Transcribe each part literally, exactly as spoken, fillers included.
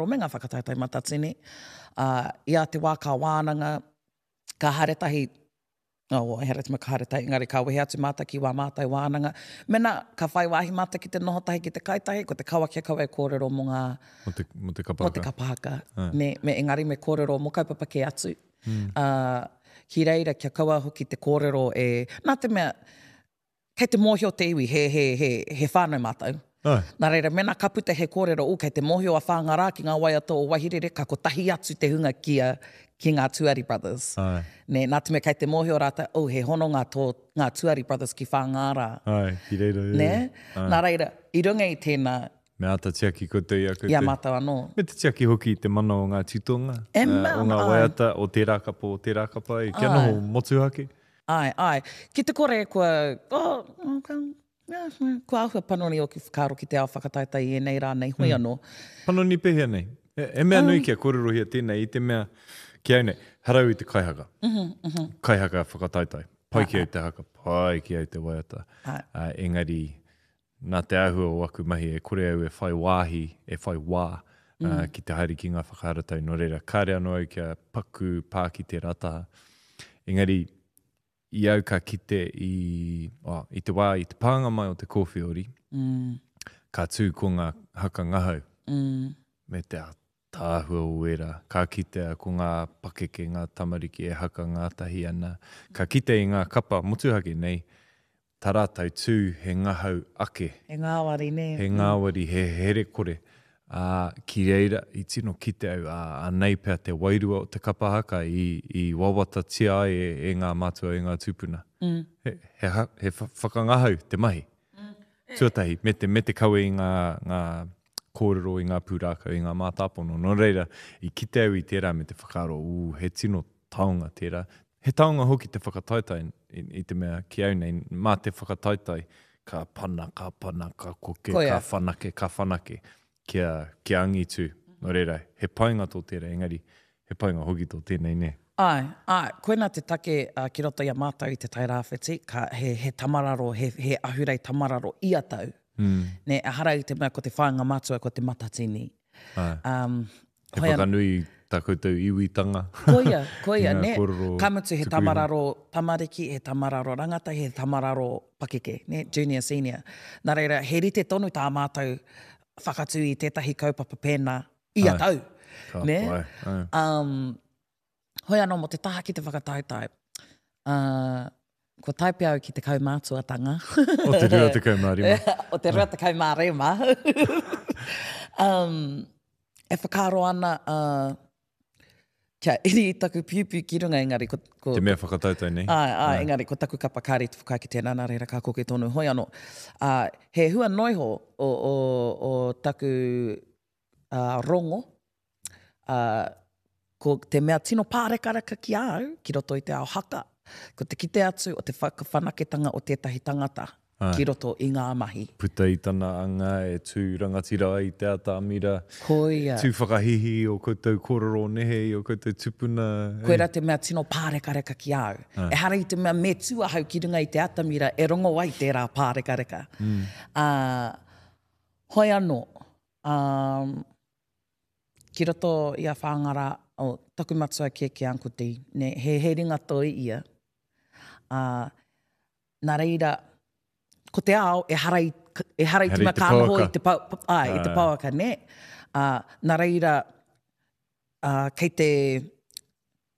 me ngā whakataetae matatini. Uh, I a te wā ka wānanga, ka haere tahi, oh, ehara te mea ka haere tahi, engari ka wehe atu mātou ki wā mātou wānanga. Mena ka whai wāhi mātou ki te noho tahi, ki te kai tahi, ko te kawa kia kaua e kōrero mō ngā... Mō te, mō te kapa haka. Mō te kapa haka. Ne, me, engari me kōrero mō kaupapa kē atu. Mm. Uh, ki reira, kia kaua hoki te kōrero e... Nā te mea, kei te mōhio te iwi, he, he, he, he whānau mātou. Ai. Nā reira, mena ka puta he kōrero, ū, kei te mōhio a Whāngārā ki ngā waiata o Waihirere, ka kotahi atu te hunga ki a, ki ngā Tuari Brothers. Ai. Nē, nā te mea kei te mōhio rātou, oh, he hononga tō ngā Tuari Brothers ki Whāngārā. Ai, ki reira, e. Nē? Ai. Nā reira, i runga i tēnā... Me āta tiaki koutou i a koutou. I a mātou anō. Me te tiaki hoki i te mana o ngā titonga, E mea, o ngā ai. waiata, o tērā kapa, o tērā kapa, e, kia Ai. noho motuhake. Ai, ai. Ki te kore kua, oh, okay. Kua āhua panoni ōku whakaaro ki te ao whakataetae i ēnei rā nei, hoi anō. Panoni pēhea nei? He mea nui kia kōrerohia tēnei i te mea ki au nei, harau i te kaihaka. Kaihaka whakataetae. Pai ki au te haka, pai ki au te waiata. Engari, nā te āhua o aku mahi e kore au e whai wāhi, e whai wā ki te haere ki ngā whakaharatau. Nō reira, kāre anō au kia paku pā ki tērā taha. Engari, i au ka kite i, oh, i te wā, i te pānga mai o te kōwhiori, mm. ka tū ko ngā haka ngahau, mm. me te ātaahua o ērā. Ka kitea ko ngā pakeke, ngā tamariki e haka ngātahi ana. Ka kite i ngā kapa motuhake nei, tā rātou tū he ngahau ake. He ngāwari, nē. He ngāwari, he herekore. Ā, ki reira, i tino kite au, ā, anei pea te wairua o te kapa haka i, i wawatatia ai e, e ngā mātua, e ngā tūpuna. Mm. He, he, he whakangahau te mahi. Mm. Tuatahi, me te, me te kawe i ngā, ngā kōrero, i ngā pūrākau, i ngā mātāpono. Nō reira, i kite au i tērā me te whakaaro, ū, he tino taonga tērā. He taonga hoki te whakataetae i, i te mea ki au nei, mā te whakataetae, ka pana, ka pana, ka koke, Koia. ka whanake, ka whanake. Kia, kia angitu. Nō reira, he painga tō tērā, engari, he painga hoki tō tēnei, nē? Āe, āe, koinā te take uh, ki roto i a mātou i Te Tai Rāwhiti, ka, he, he tamararo, he, he ahurei tamararo ia tau. Mm. Nē, ehara i te mea ko te whāinga matua, ko te matatini. Āe. Um, He hoi an- whakanui tā koutou iwitanga. Koia, koia, I ngā nē. kōrero Ka mutu he tuku iho. tamararo tamariki, he tamararo rangatahi, he tamararo pakeke, nē, junior, senior. Nā reira, he rite tonu tā mātou whakatū i tētahi kaupapa pēnā ia Ai. tau. Ka Nē? pai, ai. Um, hoi anō mō te taha ki te whakataetae, uh, kua tae pea au ki te kaumātuatanga. O te rua tekau mā rima. O te rua tekau mā rima. um, e whakaaro ana uh, kia iri i taku piupiu ki runga, engari ko... ko Te mea whakataetae nei. Āe, āe, engari ko taku kapa kāre i te whakaae ki tēnā, nā reira ka koke tonu hoi anō. Uh, he hua noiho o, o, o taku uh, rongo, uh, ko te mea tino pārekareka ki a au, ki roto i te ao haka, ko te kite atu o te whakawhanaketanga o tētahi tangata Āe. ki roto i ngā mahi. Puta i tana anga e tū rangatira ai i te atamira. Koia. Tū whakahihi i ō koutou kōrero nehe, i ō koutou tupuna. Koira te mea tino pārekareka ki a au. Āe. Ehara i te mea me tū ahau ki runga i te atamira e rongo ai tērā pārekareka. Mm. Uh, hoi anō, um, ki roto i a Whāngārā, oh, taku matua kēkē Uncle D, ne, he, he ringa toi ia. Uh, nā reira, ko te ao, ehara i, ehara i te Ehara i mea te ka noho pouaka. i te pau, ai, i te Āe. pouaka, nē? Uh, nā reira, uh, kei te,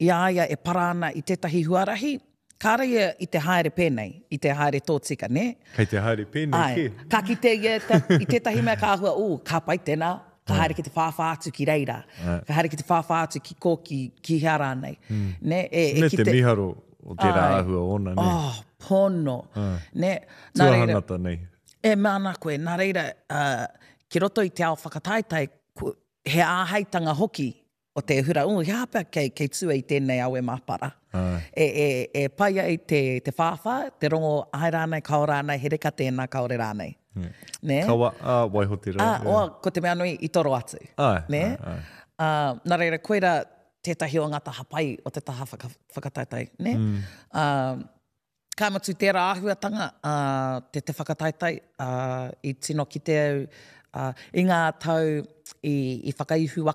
i a ia e para ana i tētahi huarahi, kāre ia i te haere pēnei, i te haere tōtika, nē? Kei te haere pēnei Āe, kē. ka kite ia ta, i tētahi mea ka āhua, ū, ka pai tēnā, ka haere ki te whāwhā atu ki reira, Āe. ka haere ki te whāwhā atu ki kō, ki, ki hea rānei. Mm. Nē, e, e Me te kite... miharo o tērā Āe. āhua ōna, nē? Oh, pono. Āe. Nē, nā reira, Tuahangata nei. e mea ana koe, nā reira, uh, ki roto i te ao whakataetae, ku, he āheitanga hoki o te hura, ū, he aha pea kei, kei tua i tēnei awe māpara. Āe. E, e, e pai ai te, te whāwhā, te rongo āe rānei, kao rānei, he reka tēnā, kaore rānei. Yeah. Nē? Kawa, ā, waiho te rā. Ā, yeah. oa, ko te mea nui i toro atu. Āe, Nē? āe, āe. Uh, nā reira, koira tētahi o ngā taha pai o te taha whaka, whakataetae, nē? Mm. Uh, ka mutu tērā āhuatanga, uh, te, te whakataetae, uh, i tino kite au, Uh, I ngā tau i, i whakaihu waka